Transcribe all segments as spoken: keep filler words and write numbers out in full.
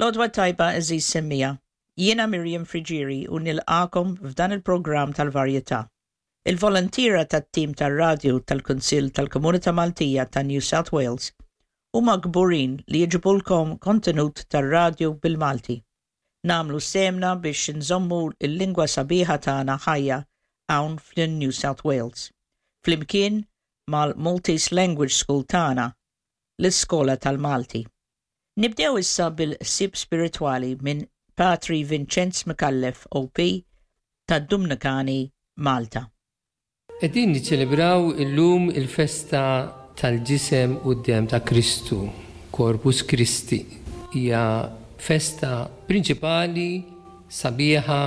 L-għodwa t-tajba, għeżież semmiegħa. Jiena Miriam Friggieri u nilqagħkom f'dan il-programm tal-varjetà. Il-volontiera tat-tim tar-radju tal-Kunsill tal-Komunità Maltija ta' New South Wales huma kburin li jġibulkom kontenut tar-radju bil-Malti. Nagħmlu sehemna biex nżommu il-lingwa sabiħa tagħna ħajja hawn fl-New South Wales. Flimkien mal-Maltese Language School tagħna, l-Iskola tal-Malti. Nibdew issa bil-ħsieb spiritwali minn Patri Vincenz Micallef O P tad-Dumnikani, Malta. Qegħdin niċċelebraw illum il-festa tal-ġisem u d-dem ta' Kristu, Corpus Christi. Hija festa prinċipali, sabiħa,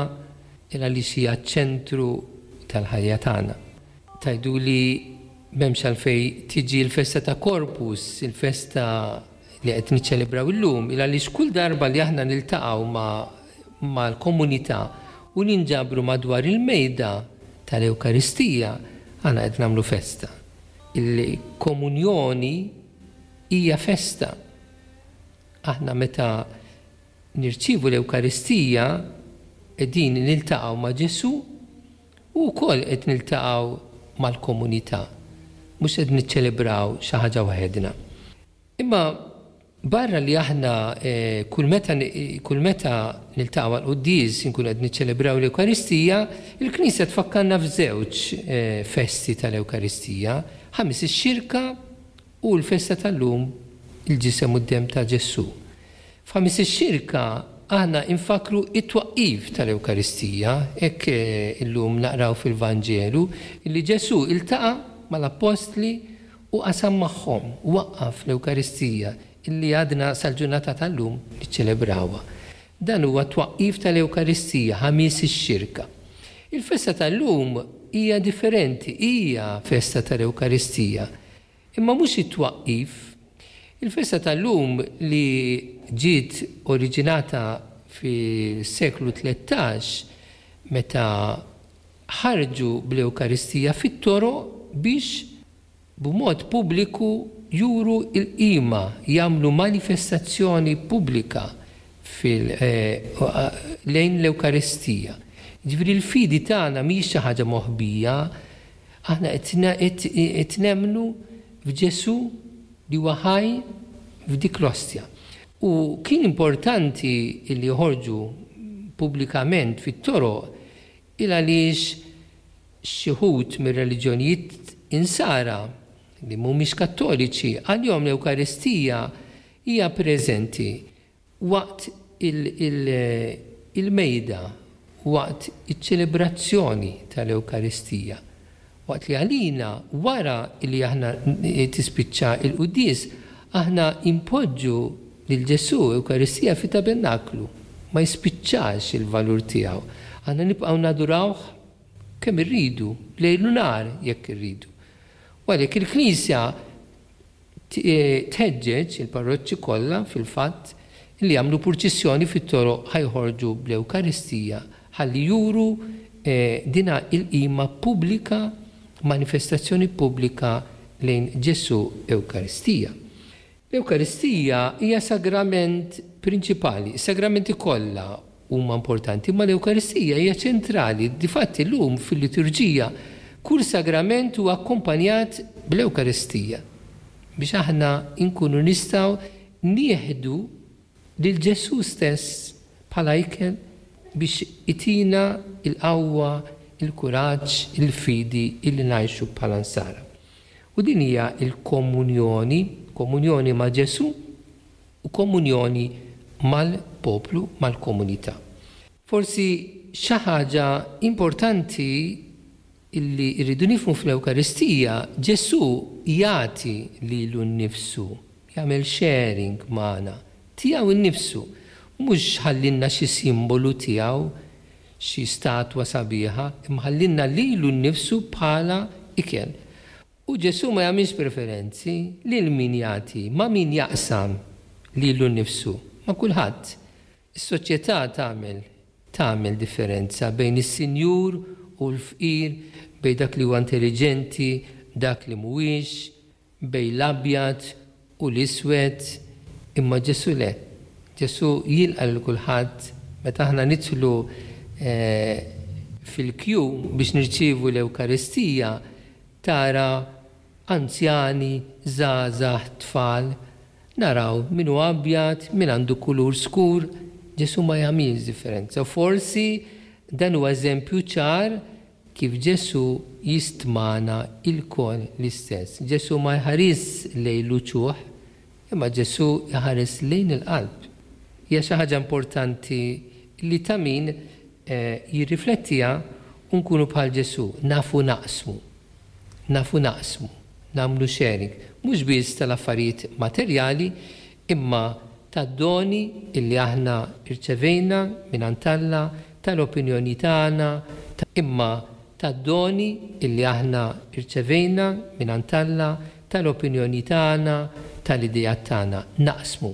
għaliex hija ċentru tal-ħajja tagħna. Tgħidu li m'hemmx għalfejn tiġi l-festa ta' Corpus, il-festa li qed niċċelebraw illum, il għaliex kull darba li aħna niltaqgħu ma' mal-komunità u ninġabru madwar il-mejda tal-Ewkaristija, aħna qed nagħmlu festa. Il-komunjoni hija festa. Aħna meta nirċivu l-Ewkaristija qegħdin niltaqgħu ma' Ġesù u wkoll qed niltaqgħu mal-komunità. Mhux qed niċċelebraw xi ħaġa waħedna. Imma barra li aħna eh, kull meta kull meta niltaqgħu għall-quddies inkunu qed niċċelebraw l-Ewkaristija, il-Knisja tfakkarna f'żewġ eh, festi tal-Ewkaristija, Ħamis ix-Xirka u l-festa tal-lum, il-ġisem u d-dem ta' Ġesù. F'Ħamis ix-Xirka aħna infakru it-twaqqif tal-Ewkaristija, hekk eh, illum naqraw fil-Vanġelu li Ġesù iltaqa' mal-Appostli u qasam magħhom, waqqaf l-Ewkaristija illi għadna sal-ġurnata tal-lum niċċelebrawha. Dan huwa twaqqif tal-Ewkaristija, Ħamis ix-Xirka. Il-festa tal-lum hija differenti, hija festa tal-Ewkaristija, imma mhux it-twaqqif. Il-festa tal-lum li ġiet oriġinata fis-seklu tlettax meta ħarġu bl-Ewkaristija fit-toroq biex b'mod pubbliku juru il-qima, jagħmlu manifestazzjoni pubblika fil, eh, lejn l-Ewkaristija. Ġifieri l-fidi tagħna mhijiex xi ħaġa moħbija, aħna qed nemmnu f'Ġesù li huwa ħaj f'dik l-ostja. U kien importanti li joħorġu pubblikament fit-toroq il għaliex xi wħud mir-reliġjonijiet insara li mhumiex kattoliċi, għalihom l-Ewkaristija hija preżenti waqt il-mejda, waqt iċ-ċelebrazzjoni tal-Ewkaristija. Waqt li għalina, wara li aħna tispiċċa il-quddies, aħna impoġġu lil Ġesù Ewkaristija fit tabernaklu. Ma jispiċċax il-valur tiegħu. Aħna nibqgħu nadurawh kemm irridu, lejl u nhar jekk irridu. U għalhekk il-Knisja tħeġġeġ il-parroċċi kollha fil-fatt li jagħmlu purċissjoni fit-toroq ħa joħorġu bl-Ewkaristija ħalli juru eh, dina il-qima pubblika, manifestazzjoni pubblika lejn Ġesù Ewkaristija. L-Ewkaristija hija sagrament prinċipali, is-sagramenti kollha huma importanti, ma l-Ewkaristija hija ċentrali. Difatti llum fil-liturġija kull sagrament huwa akkompanjat bl-Ewkaristija biex aħna nkunu nistgħu nieħdu lil Ġesù stess bħala ikel biex itina il-qawwa, il-kuraġġ, il-fidi illi ngħixu bħala nsara. U din hija il-komunjoni, komunjoni ma' Ġesù u komunjoni mal-poplu, mal-komunità. Forsi xi ħaġa importanti illi rridu nifhmu fl-Ewkaristija, Ġesù jagħti lilu nnifsu, jagħmel sharing magħna, tiegħu nnifsu, mhux ħallinna xi simbolu tiegħu, xi statwa sabiħa, imma ħallinna lilu nnifsu bħala ikel. U Ġesù ma jagħmilx preferenzi lil min jagħti, ma' min jaqsam lilu nnifsu, ma' kulħadd. Is-soċjetà tagħmel tagħmel differenza bejn is-sinjur u l-fqir, bejn dak li huwa intelligenti, dak li mhuwiex, bejn l-abjad u l-iswed, imma Ġesù le. Ġesù jilqa' lil kulħadd. Meta aħna nidħlu eh, fil-kju biex nirċievu l-Ewkaristija, tara anzjani, żgħażagħ, tfal, naraw min hu abjad, min għandu kulur skur, Ġesù ma jagħmilx differenza. Forsi dan huwa eżempju ċar kif Ġesù jistmana lkoll l-istess. Ġesù ma jħares lejn l-uċuħ, imma Ġesù jħares lejn il-qalb. Hija xi ħaġa importanti li ta' min eh, jirriflettiha u nkunu bħal Ġesù, nafu naqsmu. Nafu naqsmu, nagħmlu sharing, mhux biss tal-affarijiet materjali, imma tad-doni illi aħna irċevejna minn Alla, tal-opinjoni tagħna, imma tad-doni illi aħna irċevejna minn Alla, tal-opinjoni tagħna, tal-idea tagħna. Naqsmu.